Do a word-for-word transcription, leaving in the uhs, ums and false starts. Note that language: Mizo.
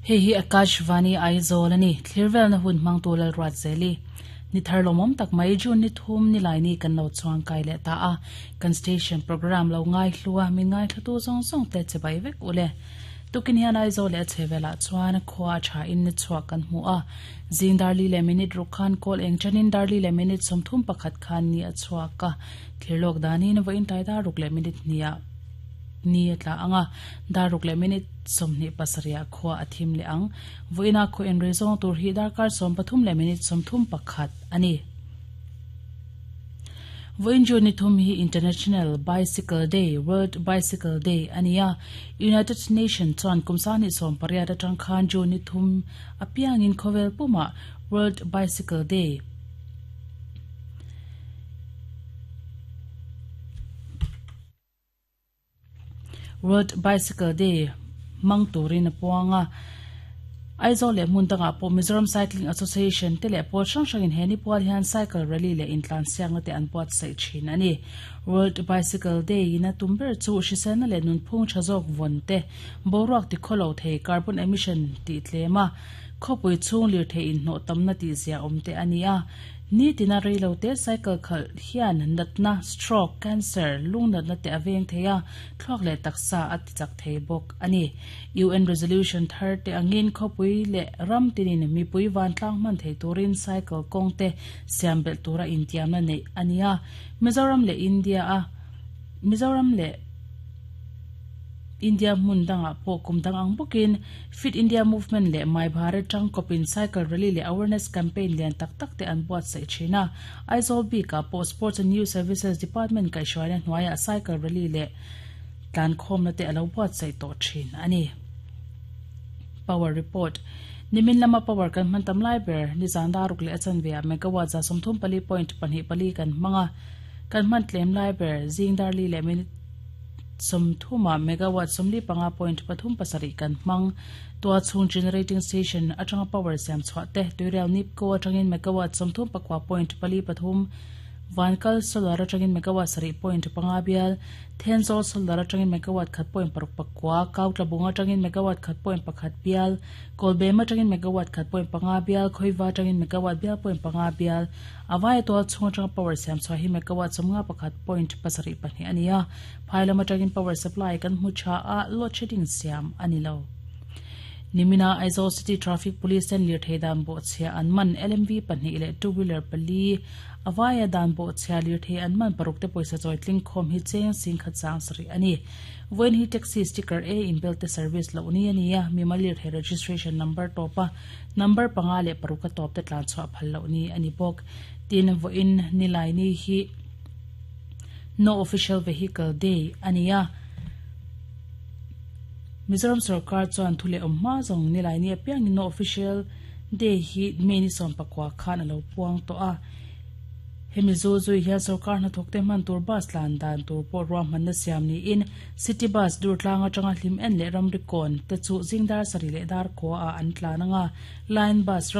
Hei hi Akashvani Aizawl ani thlirvel na hun hmang tu lal ruat zeli ni thar lomom tak mai June ni thum ni lai ni kan lo chuang kai le ta a kan station program lo ngai hlua mi ngai thatu zong zong te chebai vek ule tukin hian Aizawl le chevela chuan khwa tha in ni chhuak kan hmu a zing darli le minute rukhan kol eng chanin darli le minute somthum pakhat khan ni a chhuaka thirlok danin voin tai da ruk le minute nia ni atla anga daruk le minute somni pasaria khwa athim le ang voina kho en rezong tur hi darkar som pathum le minute somthum pakhat ani voin juni thum hi International Bicycle Day World Bicycle Day ania United Nations chuan kumsani som pariat atang khan juni thum apiang in khovel puma World Bicycle Day World Bicycle Day mang turin puanga Aizawl le hmun danga pawh Mizoram Cycling Association te leh pawl hrang hrangin he ni pual hian cycle rally leh intlan siakna te an puat saih thin ani World Bicycle Day ina tum ber chu hriselna leh nunphung tha zawk vawn te boruak ti khawlo thei carbon emission tih tlema khawpui chhung lir thei inhnawh tamna tih zia awm te ani a ni tina reilo te cycle khal hian natna stroke cancer lung natna te aveng theia thluak leh taksa a ti chak thei bawk ani U N resolution thar te angin khawpui le ram tinin mipui van tlang man thei turin cycle kawng te siam belh tura intiamna nei ania Mizoram le India a Mizoram le India hmun danga pawh kum dang ang bawkin Fit India Movement le Mai Bharat tang kopin cycle rally le awareness campaign lian tak tak te an buat saih thin a Aizawl bika pawh Sports and Youth Services Department kaihhruaina hnuaiah cycle rally le tlan khawmna te alo buat saih tawh thin ani Power report nimin lama power kan hman tam lai ber ni zan daruk le achan ve a megawatt za sawmthum pali point pahnih pali kan hmanga kan hman tlem lai ber zing darli le minute somthuma megawatt somli panga point pathum pasarih kan hmang tua chhung generating station atanga power siam chhuah te tuirial nipco atangin megawatt somthum pakua point pali pathum vankal solar atangin megawatt sarih point panga bial Thenzawl solar atangin megawatt khat point paruk pakua Kautlabung atangin megawatt khat point pakhat bial Kolbem atangin megawatt khat point panga bial Khoiva atangin megawatt bial point panga bial awai tual chhung atanga power siam chhuah hi megawatt sawmnga pakhat point pasarih pahnih ania phailam atangin power supply kan hmu tha a load shedding siam ani lo nimina Aizawl City Traffic Police ten lir thei dan bo chhia an man L M V pahnih leh two wheeler pali awaya dan bo chhia lir thei an man paruk te pawisa chawi tling khawm hi cheng sing khat chang sarih ani voin hi taxi sticker A inbelt te service lo ni ania mimal lir thei registration number topa number panga leh paruk a top te tlan chhuah phal lo ni ani bawk tin voin nilai ni hi no official vehicle day ania Mizoram Sarkar chuan thule awm hma zawng nilai ni apiang no official day hi May ni sawm pakua khan alo puang tawh a hemi zu zui hian sarkar hnathawk te hman tur bus tlan dan tur pawh ruahmanna siam niin city bus dur tlang atanga hlim en leh ramri kawn te chu zingdar sarih leh dar khua ah an tlan anga line bus ram